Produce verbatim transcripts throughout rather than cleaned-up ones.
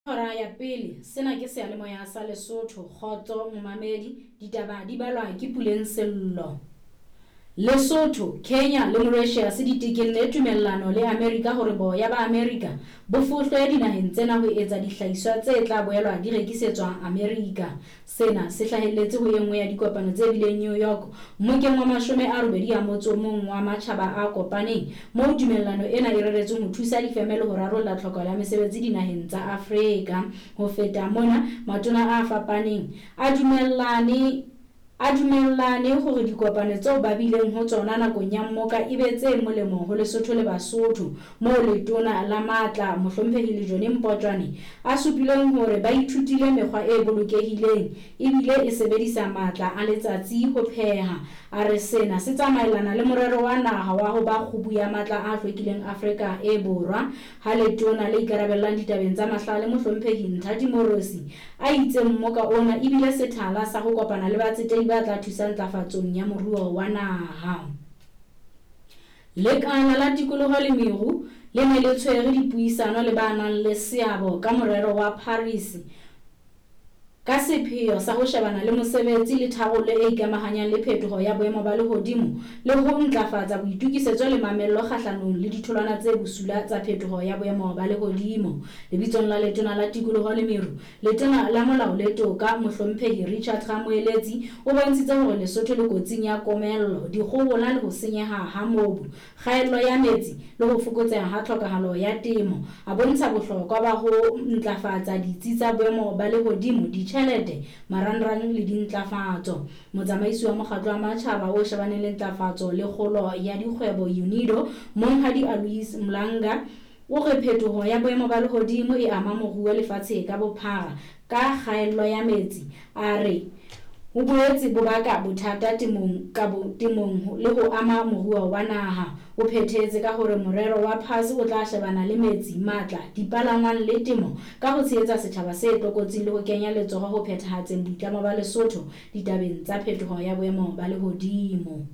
Hora ya pele, sena ke seyalemoya sa Lesotho, kgotso momamedi, ditaba di balwa ke Puleng Sello. Lesotho, Kenya le Mauritius di tekenne tumellano le Amerika hore boya ba Amerika bo fohlwe dinaheng tsena ho etsa dihlahiswa tse tla boelwa di rekisetswa Amerika. Sena se hlahelletse ho e nngwe ya dikopano tse bileng New York mmokeng wa mashome a robedi a motso o mong wa matjhaba a kopaneng, moo tumellano ena e reretsweng ho thusa difeme le ho rarolla tlhokahalo ya mesebetsi dinaheng tsa Afrika. Ho feta mona, matona a fapaneng a dumellane a dumellane hore dikopano tseo ba bileng ho tsona nakong ya mmoka e be tse molemo ho Lesotho le Basotho, moo letona la matla Mohlomphehi Lejone Mpotjwane a supileng hore ba ithutile mekgwa e bolokehileng ebile e sebedisa matla a letsatsi ho pheha. A re sena se tsamaellana le morero wa naha wa ho ba kgubu ya matla a hlwekileng Afrika e Borwa. Ha letona le ikarabellang ditabeng tsa mahlale Mohlomphehi Nthati Moorosi a itse mmoka ona ebile sethala sa ho kopana le batsetedi ba tla thusa ntlafatsong ya moruo wa naha. Lekala la tikoloho le meru le ne le tshwere dipuisano le ba nang le seabo ka morero wa Paris ka sepheo sa ho shebana le mosebetsi le tharollo e ikamahanyang le phetoho ya boemo ba lehodimo le ho ntlafatsa boitokisetso le mamello kgahlanong le ditholwana tse bosula tsa phetoho ya boemo ba lehodimo. Lebitsong la letona la tikoloho le meru, letona la molao le toka Mohlomphehi Richard Ramoeletsi o bontshitse hore Lesotho le kotsing ya komello, dikgohola le ho senyeha ha mobu, kgaello ya metsi le ho fokotseha ha tlhokahalo ya temo. A bontsha bohlokwa ba ho ntlafatsa ditsi tsa boemo ba lehodimo, ditjhelete, marangrang le dintlafatso. Motsamaisi wa mokgatlo wa matjhaba o shebaneng le ntlafatso le kgolo ya dikgwebo UNIDO, Monghadi Alois Mlanga, o re phetoho ya boemo ba lehodimo e ama moruo lefatshe ka bophara ka kgaello ya metsi. A re ho boetse bo baka bothata temong ka bo temong le ho ama moruo wa naha. O phethetse ka hore morero wa P A S o tla shebana le metsi, matla, dipalangwang le temo ka ho tshehetsa setjhaba se tlokotsing le ho kenya letsoho ho phethahatseng boitlamo ba Lesotho ditabeng tsa phetoho ya boemo ba lehodimo.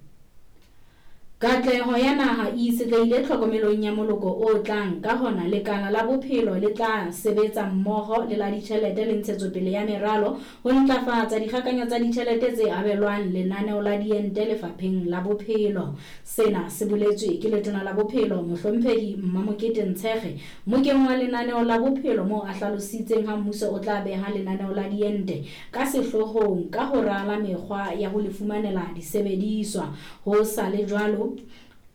Katleho ya naha e itshetlehile tlhokomelong ya moloko o tlang, ka hona lekala la bophelo le tla sebetsa mmoho le la ditjhelete le ntshetsopele ya meralo ho ntlafatsa dikgakanyo tsa ditjhelete tse abelwang lenaneo la diente lefapheng la bophelo. Sena se boletswe ke letona la bophelo Mohlomphehi Mmamokete Ntshekge mmokeng wa lenaneo la bophelo, moo a hlalositseng ha mmuso o tla beha lenaneo la diente ka sehloohong ka ho rala mekgwa ya ho le fumanela disebediswa. Ho sa le jwalo,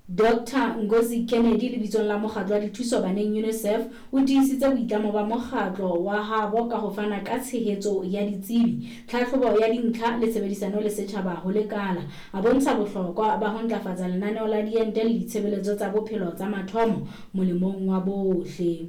Doctor Ngozi Kennedy lebitsong la mokgatlo wa dithuso baneng UNICEF o tiisitse boitlamo ba mokgatlo wa habo ka ho fana ka tshehetso ya ditsebi, tlhahlobo ya dintlha le tshebedisano le setjhaba ho lekala. A bontsha bohlokwa ba ho ntlafatsa lenaneo la diente le ditshebeletso tsa bophelo tsa mathomo molemong wa bohle.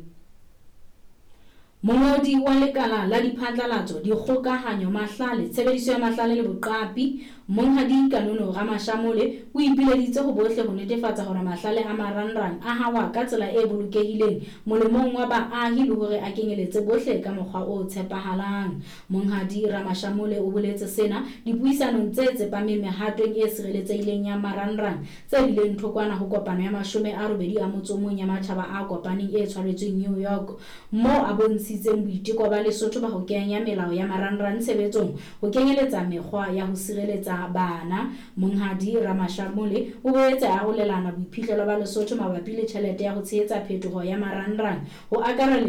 Mongodi wa lekala la diphatlalatso, dikgokahanyo, mahlale, tshebediso ya mahlale le boqapi, Monghadi Kanono Ramashamole o ipileditse ho bohle ho netefatsa hore mahlale a marangrang a hawa ka tsela e bolokehileng molemong wa baahi le hore a kenyeletse bohle ka mokgwa o tshepahalang. Monghadi Ramashamole o boletse sena dipuisanong tse tsepameng mehatong e sireletsehileng ya marangrang tse bileng thokwana ho kopano ya mashome a robedi a motso o mong ya matjhaba a kopaneng e tshwaretsweng New York, moo a bontshitseng boiteko ba Lesotho ba ho kenya melao ya marangrang tshebetsong ho kenyeletsa mekgwa ya ho sireletsa bana. Monghadi Ramashamole o boetse a arolelana boiphihlelo ba Lesotho mabapi le tjhelete ya ho tshehetsa phetoho ya marangrang ho akareletsa